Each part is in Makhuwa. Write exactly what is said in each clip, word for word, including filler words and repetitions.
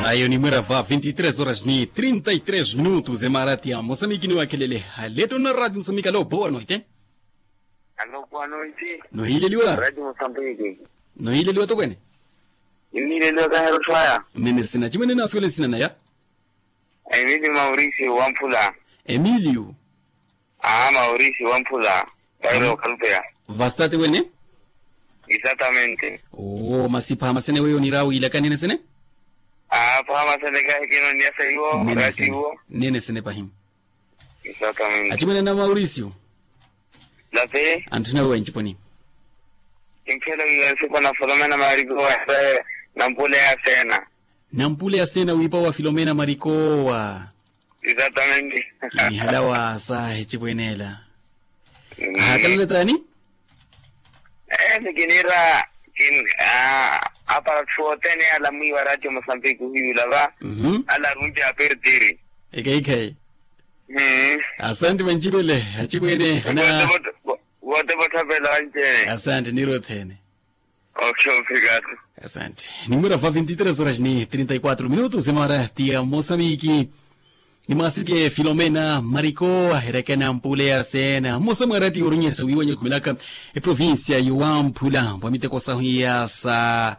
Ayo nimwera va vinte e três horas ni trinta e três minutos emaarati ya mosamiki niwakhelele. Haleto na radio mosamiki alo boa noite. Alo boa noite. Nohileliwa. Radio mosamiki. Nohileliwa tokwene. Nimileliwa kahero twaya. Nene sina chimwene nasuwele sina naya. Emilio mauricio wamphula. Emilio. Ah mauricio wamphula. Kairo kalupea. Vastate wene. Exactamente. Oo masi phaha masene weyo nirawo ilakanene sene. Ah phaha masene kahekeno niyasa iwo. Nene sene pahi. Exactamente. Achimwene na mauricio. Lape. Anthuna wenji poni. Kimphela wiwa sipo na folomena mariko wa nampule ya sena. Nampule ya sena wipa wa filomena marikowa. Exactamente. Kinihala wa sahi chipwenela. Ahakalale tani. Ese kinira. Kin apara thu otene alamwiwa ratio mosambique hiyula va. Ala runti apertiri. Ekeikhei. Asante vanchipele achipwene hana. Vote vothapela vanchene. Asante niro thene. Oxo obrigado. Asante. Nimwira va vinte e três horas ni trinta e quatro minutos emara tia mosamiki. Nimwasike filomena mariko aherekena mpule ya sena mosamwarati orunyesa wiwanya okhumilaka eprovincia yowamphula mpwa miteko sahu ya sa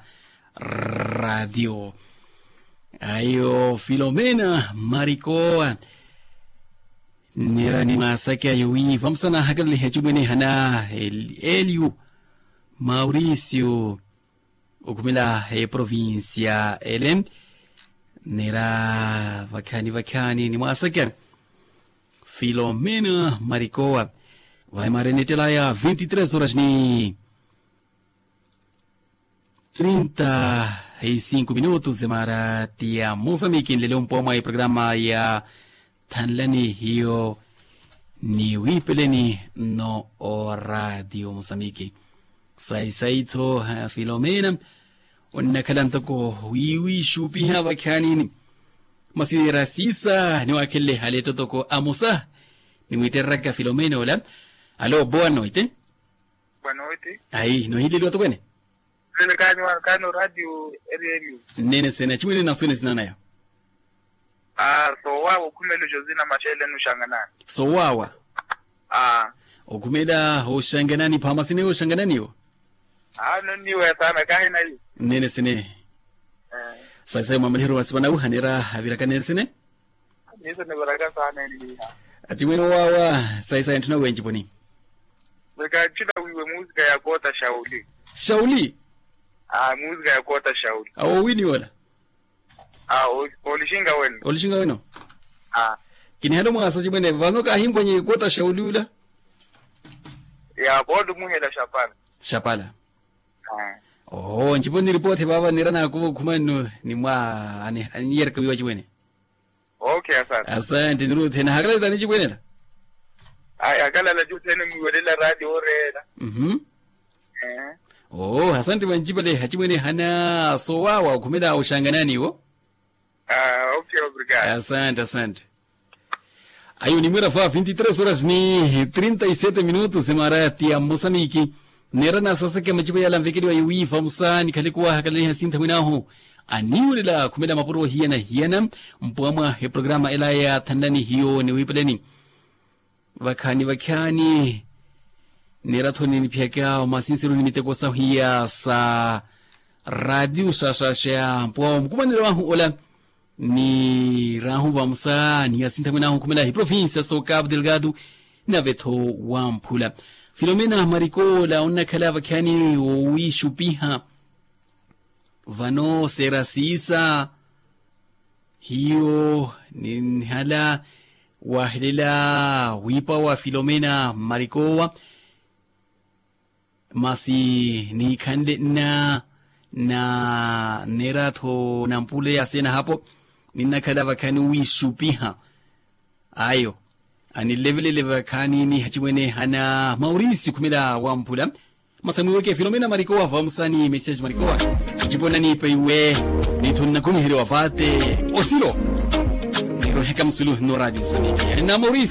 radio. Ayo filomena mariko. Nira nimwasake ayo wi vamusana ahakalaliha chimwene hana eliu mauricio. Okhumela eprovincia ele nira vakhani vakhani nimwasakya filomena marikowa. Vaemarenetela ya vinte e três horas ni trinta e cinco minutos emarati ya mosamiki nlelo mpowa mwa eprograma ya thanlani hiyo ni wiipeleni nno oraatiyo mosamiki. Sayi sayi-tho filomena onnakhala ntoko wiiwiixupiha vakhaanini. Masi nira siisa niwaakhenle hale ettotoko amosa nimwiittereryaka filomena ola. Alo boa noite. Boa noite. Ayi nohiileliwa tokwene. Nene kaani wa kaani oraatiyo erieliyo. Nene sene achimwene nasuwene sinanaya. Sowawa okhumela oxosina maxeeleni oxanganani. Sowawa. Okhumela oxanganani phaama sineyo oxangananiwo. Nonniweya saana kaahinayi. Nene sine. Sayi sayi mwamaliheru masipa nawuhanera aviraka nene sine. Nene sine aviraka saana enniha. Achimwene owawa. Sayi sayi ntthuna wenci poni. Wekatthina wiiwe muusika ya koota xauli. Xauli. Muusika ya koota xauli. Awo wini wola. Olixinga weno. Olixinga weno. Kinihale omwaasa cimwene vano kaahimpwanyi koota xauli ula. Ya pooti omuhela xapala. Xapala. Oo ncipo niripoothe vaava nira naakuva okhuma nno nimwa aniyereka wiiwa cimwene. Oke asante. Asante niruuthe nahakalale tani cimwenela. Aya akalala juthene mwiwelela raati ooreela. Oo asante vancipale hacimwene hana sowawa okhumela oxanganani iwo. Asante asante. Ayo onimwira va vinte e três horas ni trinta e sete minutos emaara ya mosamiki. Neera naasaseke macipo yala nvekeliwa yowiiva musa nikhale kuwahakalaniha sintha mwinaahu aniiwelela khumela mapuro hiyana hiyana. Mpuwa mwa eprograma ela ya thanlani hiyo niwiipeleni. Vakhaani vakhaani. Neera-tho niniphiyaka omasinsiru ni miteko sahu iya sa raatiyo sasaseya mpuwa wa mukumanelo wahu ola. Niraahu vamosa ni asintha mwinaahu okhumela eprovincia so cabo delgado. Nave-tho wamphula filomena marikola onnakhala vakhaani wowiixupiha. Vano seera siisa hiyo ninhala wahelela wiipa wa filomena marikowa. Masi niikhanle nna na nneera-tho nampule ya seena hapo. Ninnakhala vakhaani owiixupiha ayo anilevelele vakhaani ni hacimwene hana mauricio khumela wamphula. Masi amwiiweke filomena marikowa vamusani mesiasi marikowa. Ncipo nnaniipa iwe nitho nnakomiherya wa vaate osilo. Niroheka musulu nno raatiyo samiki hana mauricio.